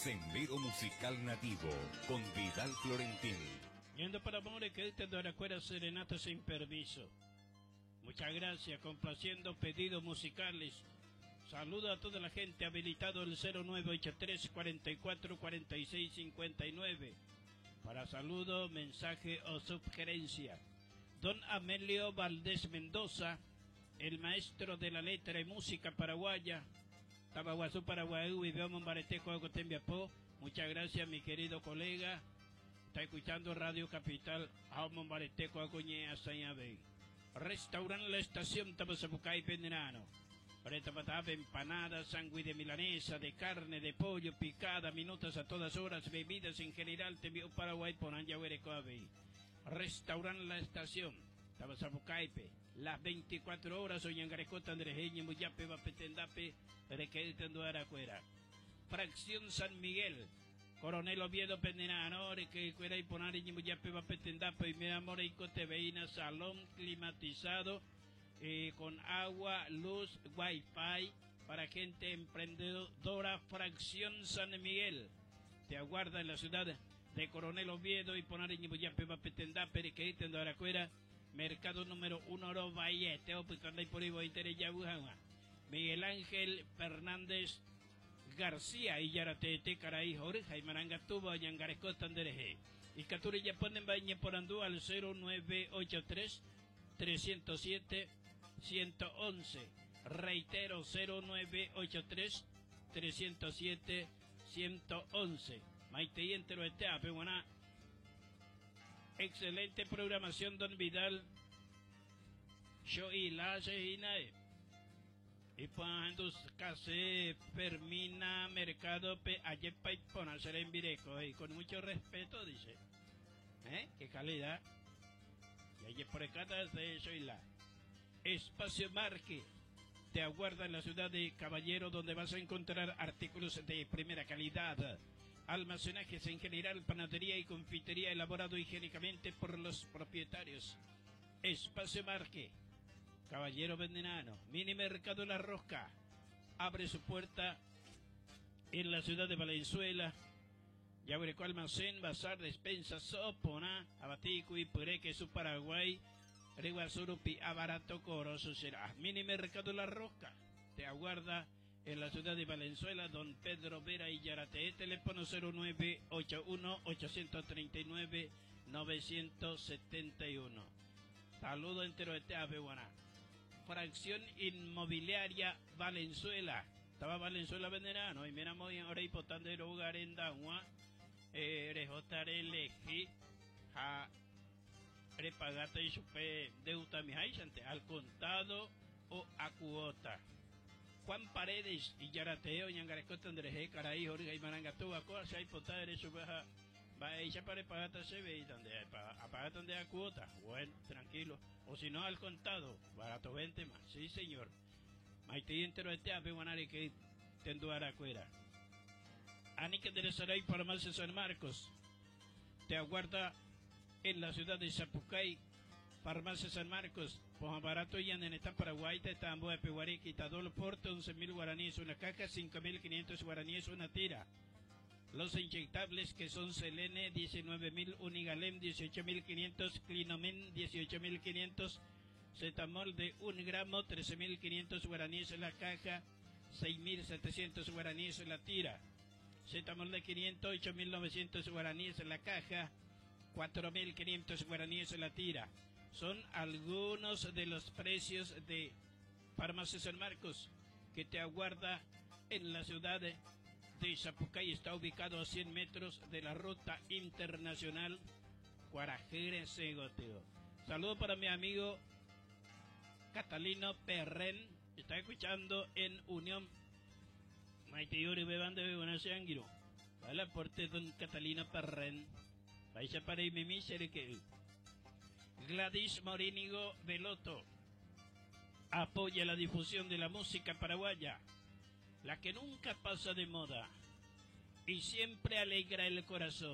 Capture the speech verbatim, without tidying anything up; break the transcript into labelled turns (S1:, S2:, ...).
S1: Sendero Musical Nativo con Vidal Florentín.
S2: Yendo para amores que de la serenata sin permiso. Muchas gracias, complaciendo pedidos musicales. Saludo a toda la gente habilitado el cero nueve ocho tres cuarenta y cuatro cuarenta y seis cincuenta y nueve para saludo, mensaje o sugerencia. Don Amelio Valdés Mendoza, el maestro de la letra y música paraguaya, Tabaguazú, Paraguay, y veamos Mbareteco, Agotembiapó. Muchas gracias, mi querido colega. Está escuchando Radio Capital, Jaume Mbareteco, Agoñea, Sañabey. Restaurant La Estación, Tabasabucay, Penderano. Preta patata, empanada, sándwich de milanesa, de carne, de pollo, picada, minutas a todas horas, bebidas en general, te envío Paraguay por Anja Huerecoabe. Restaurant La Estación, Tabasabucaipe, las veinticuatro horas, Oñangarecota, Andrejeña, Muyape, Bapetendape, Requetenduaracuera. Fracción San Miguel, Coronel Oviedo, Pendenano, Requecuera y Ponari, Muyape, Bapetendape, y Mira Moreico, Teveína, salón climatizado, eh, con agua, luz, wifi, para gente emprendedora. Fracción San Miguel te aguarda en la ciudad de Coronel Oviedo y Ponari, Muyape, Bapetendape, Requetenduaracuera. Mercado número uno, Oro Valle, Teo, Putanda y por Ibo, Inter, Yabujawa. Miguel Ángel Fernández García y Yaratete, Caraí, Jorge, y Marangatuba, Yangaresco, Tandereje. Y Caturi ya ponen bañe por Andú al cero nueve ocho tres, trescientos siete, ciento once. Reitero, cero nueve ocho tres, trescientos siete, ciento once. Maite y entero este, apeguaná. Excelente programación, don Vidal. Yo y la Sejinae. Y cuando case Fermina Mercado Pe Ayepa y Ponacer en Vireco. Y con mucho respeto dice. ¿Eh? Qué calidad. Y ayer por acá de eso y la. Espacio Marque te aguarda en la ciudad de Caballero, donde vas a encontrar artículos de primera calidad. Almacenajes en general, panadería y confitería elaborado higiénicamente por los propietarios. Espacio Marque, Caballero Vendenano, Mini Mercado La Rosca, abre su puerta en la ciudad de Valenzuela. Ya abre almacén, bazar, despensa, sopona, abatico y puré, queso Paraguay, Riguazurupi, abarato, coroso será. Mini Mercado La Rosca te aguarda en la ciudad de Valenzuela, don Pedro Vera y Yarate, teléfono cero nueve ocho uno, ochocientos treinta y nueve, novecientos setenta y uno. Saludo entero de Teapeguaná. Fracción Inmobiliaria Valenzuela. Estaba Valenzuela Venderano y mira muy ahora y potandero hogar en Dagua. Eh, rejotare leji, ja, repagate y supe deuda mi jaisante, al contado o a cuota. Juan Paredes y Yarateo, Ñangarescota, Andrés, Caraí, Jorge y Marangatúa, Coa, hay potadere, su baja, va ella para pagar se ve y donde hay pa, a pagar donde hay cuota. Bueno, tranquilo. O si no, al contado, barato veinte más. Sí, señor. Maite y entero este ape guanare que tenduara cuera. Anica de Saray, Farmacia San Marcos. Te aguarda en la ciudad de Sapucay, Farmacia San Marcos. Poja barato y en esta Paraguay, te tambo de Peguarí, quitador porte, once mil guaraníes una caja, cinco mil quinientos guaraníes una tira. Los inyectables que son Selene, diecinueve mil, Unigalem, dieciocho mil quinientos, Clinomen, dieciocho mil quinientos, Cetamol de un gramo, trece mil quinientos guaraníes la caja, seis mil setecientos guaraníes la tira. Cetamol de quinientos, ocho mil novecientos guaraníes la caja, cuatro mil quinientos guaraníes la tira. Son algunos de los precios de Farmacia San Marcos, que te aguarda en la ciudad de Sapucay. Está ubicado a cien metros de la ruta internacional Cuarajere-Segoteo. Saludo para mi amigo Catalino Perren, está escuchando en Unión. Maite Yuri Beban de Bebona Seanguiro. Va la porte don Catalino Perren. Vais a para mi misere que Gladys Morínigo Veloto apoya la difusión de la música paraguaya, la que nunca pasa de moda y siempre alegra el corazón.